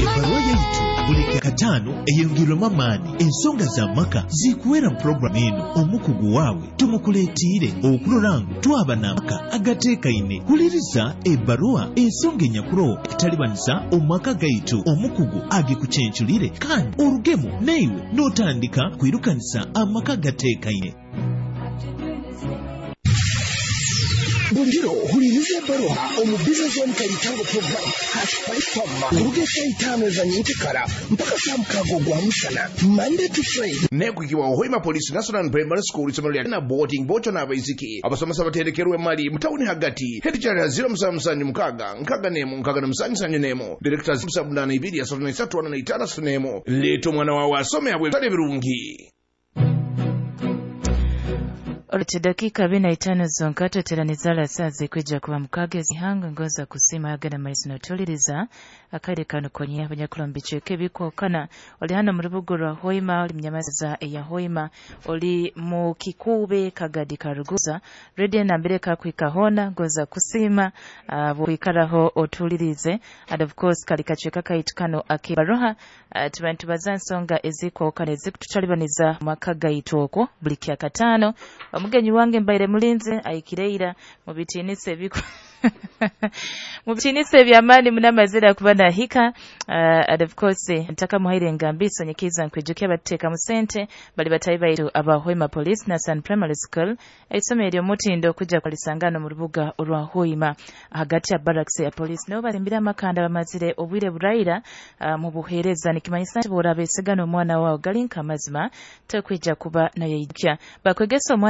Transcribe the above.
Ebbaruwa yaitu buli Kyakataano eyongerwemu amaani. Ensonga z'amaka zikuwera mu puroguramu eno. Omukugu waawe tumukuleetiire okurora ngu twaba n'amaka agateekaine. Huliriza ebbaruwa ensonga enyakuroho ekutalibanisa omu maka gaitu, omukugu agikucenculire kandi orugemu naiwe n'otandika kwirukanisa amaka gateekaine. Buli kiro huliriza ebbaruha omu Business Zone Kalitango program Hash 5 kuruga esaaha 5 eza nyenkekara mpaka saa 6 ogwa musana, Monday to Friday. Nekwikibwa Hoima Police National Primary School, isomero lya na boarding bocho n'abaisiki abasomesa baterekerwe mali mutawuni hagati. Head ya 077 6 6 67 71 director 782 33 45 31. Leeta omwana wawe asome abwe bitale birungi. Olete dakika 45 zonka tweteranizala saa zikwija kuba mukaga ezihanga ngoza kusima agana maizi notuliriza akade kano konye abanyakulombi cheke bikwokana. Oli hano mu rubuga rwa Hoima, oli munyamaza eya Hoima, oli mu Kikube Kagadi Karuguza radio nambere kakwika hona ngoza kusima bwikaraho otulirize. And of course kali kacheka kaitu kano akibaroha tubantu baza nsonga ezikwokana ezikututalibaniza maka gaitu okwo buli Kyakataano. Omugenyi wange mbaire mulinze aikireira mu bitinise ebiku mu bitinise ebyamaani munamazira kuba nahika. And of course ntaka muhaire ngambiso nyikiza nkwijukia bateeka mu sente bali batayi baitu aba Hoima Police Nasan Primary School, isomero ery'omutindo kujja kwalisangano mu rubuga orwa Hoima hagati ya barracks ya police. Nabo balimbira amakanda bamazire obwire buraira mu buheereza, nikimanyisa nti bw'oraba esigana omwana wawe galinka amazima tekwijja kuba nayeijukya bakwegesa omwana.